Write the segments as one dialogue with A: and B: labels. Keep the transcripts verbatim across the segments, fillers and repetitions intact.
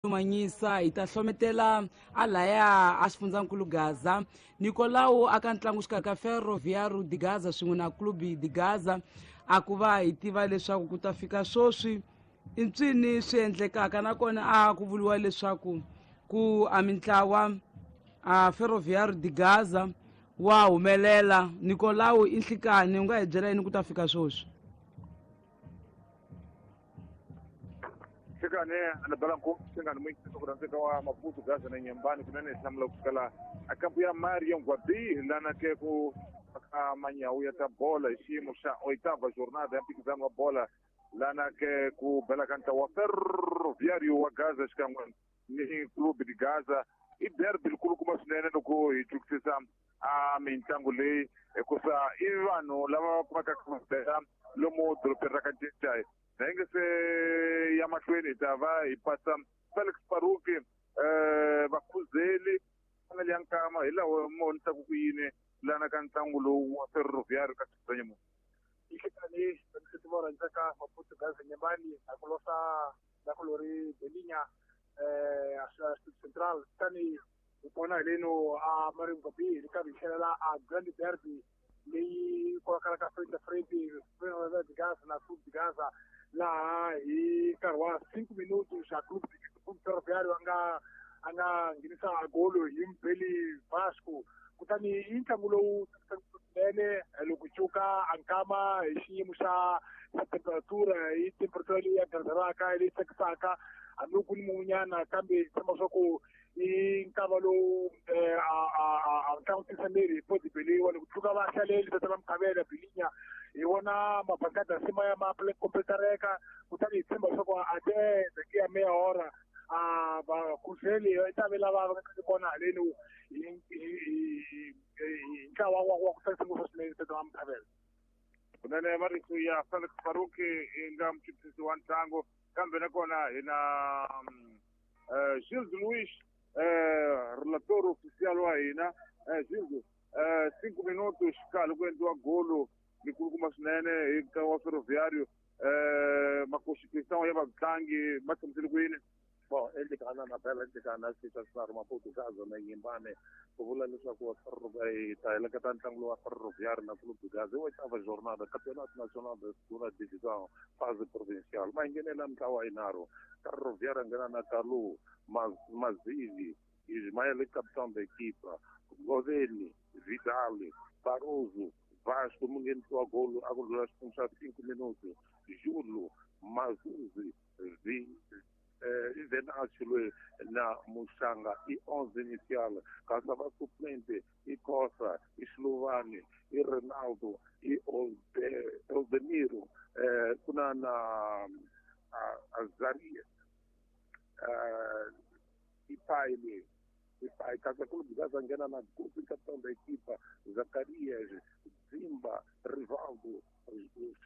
A: Manyisa hi ta hlometela a laya a xifundzankulu Gaza Nicolau aka ntlangu xikarhi ka Ferroviário de Gaza swin'we na Clube de Gaza a ku va hi tiva leswaku ku ta fika swoswi i ntswini swi endlekaka nakona a ku vuriwa leswaku ku a mintlawa a Ferroviário de Gaza wa humelela. Nicolau i nhlikani u nga hi byela yini ku ta fika swoswi?
B: Xikane anabalanku xingani muyingiseri ku rhandzeka wa Maputo Gaza na Nyembani kunene hi hlamula ku sukela a kampu ya Mario Ngwabi lana ke ku ka manyawu ya ta bola hi xiyimo xa oitava jornada ya mphikizano wa bola lana ke ku bela ka ntlawa wa Ferroviário wa Gaza xikan'we ni Clube de Gaza. I derby likulukumba swinene loko hi twisisa a mintlangu leyi hikusa i vanhu lava va kumekaka va bela lomu dorobeni ra ka Ncecai. Na hi nge se ya mahlweni hi ta va hi pasa Felix Paruki eh vakhuzeli fanele ya nkama hi laha mo vonisaka ku yini lana ka ntlangu lowu wa Ferroviário ka Xitsonga.
C: Ihlekani vaniseti vo rhandzeka Maputo Gaza Nyembani a ku losa la ku lori Belinya eh a Central tani hi kona hi leno a Mario Ngwabi hi karhi hi tlhelela a Grand Derby leyi kokalaka frente frente Ferroviário de Gaza na Clube de Gaza laha hi nkarhi wa cinco minutos xa Clube Clube Ferroviário a nga a nga nghenisa golo hi Mbeli Vasco. Kutani i ntlangu lowu swinene loko cuka a nkama hi xiyimo xa xa temperatura hi temperatura leyi ya gazeraka leyi tsakisaka hambi ku ni munyana kambe tshemba swa ku i nkama lowu a ntlangu tisa miri hi podibeliwa loko tluka va hlaleli tata va Mkhavela Bilinya hi vona mabankada se ma ya ma kompletareka kutani hi tshemba leswaku até daqui a meia hora a vakhuzeli i ta ve lava va nga kona haleni hi hi ntlawa wa wa ku tsakisa ngopfu swinene tata va Mkhavela.
B: Kunene marito ya Felix Paruki i nga muchuchisi wa ntlangu kambe nakona hi na Gilles Luiz eh relator oficial wa hina. eh Gilles eh cinco minutos kahle ku endliwa golo likulukumba swinene hi ntlangu wa Ferroviário eh makoxikisano ya vatlangi ma tshamisile ku yini?
D: Bom, endlekana na bela endlekana xita Maputo Gaza na Nyembani ku vula leswaku hi ta heleketa ntlangu lowu wa Ferroviário na Clube de Gaza i oitava jornada Campeonato Nacional de Segunda Divisão fase provincial. Ma nghenela mintlawa yinharhu. Ferroviário nghena na Kalu Mazivi Ismael capitão da equipa Goveni Vidal Barroso Vasco munghenisiwa golo a ku ndlula xiphemu xa cinco minutos Júlio Mazuzi Vi eh Venâncio na Muxanga i onze inicial kasi va suplente i Costa i Slovani i Ronaldo i Oldemiro eh kuna na Azaria eh i Paile i Pai kasi Clube de Gaza nghena na Guti capitão da equipa Zacarias Zimba Rivaldo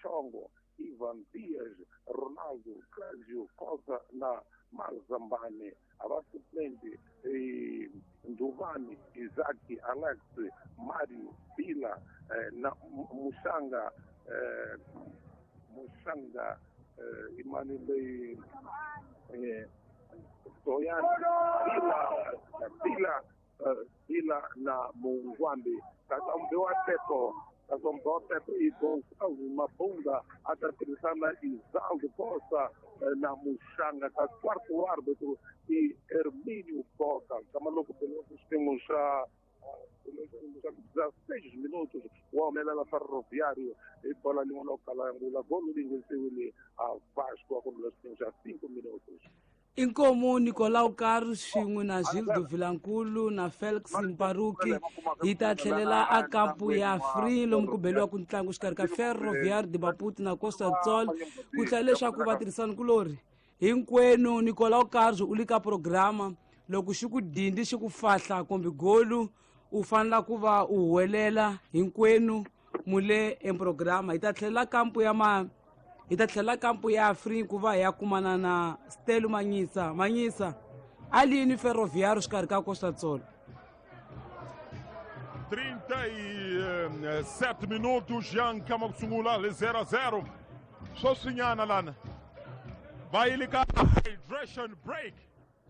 D: Chongo Ivan Dias, Ronaldo, Cláudio, Costa na Mazambane, a suplente e Nduvani, Isaac, Alex, Mário, Bila, eh, na Muxanga, eh, Muxanga, eh, Emmanuel, eh, Soyani, Bila, Bila, eh, Bila na Mungwambi, Kasambewa Tepo, Kasambote e Gonçalo Mabunda a tirhisana Isaldo Costa na Muxanga ka quarto árbitro e Hermínio Boca. Kama loko xiphemu xa dezesseis minutos wa humelela Ferroviário hi bola lin'wana ku kala ngula golo leyi nghenisiwile a Vasco a ku ndlula xiphemu xa cinco minutos.
A: Inkomu Nicolau Carlos swin'we na Gildo Vilankulu na Felix Mparuki hi ta tlhelela a kampu ya Free lomu ku beliwaku ntlangu xikarhi ka Ferroviário de Maputo na Costa do Sol ku tlhela leswaku vatirhisani-kulorhi hinkwenu. Nicolau Carlos u le ka programa loko xi ku dindi xi ku fahla kumbe golu u fanela ku va u huwelela hinkwenu mule eprograma. Hi ta tlhelela kampu ya ma hi ta tlhela kampu ya Free ku va hi ya kumana na Stelo Manyisa. Manyisa a lini Ferroviário xikarhi ka Costa do Sol?
E: trinta e sete minutos já nkama ku sungula le zero a zero sweswinyana lana va yile ka hydration break.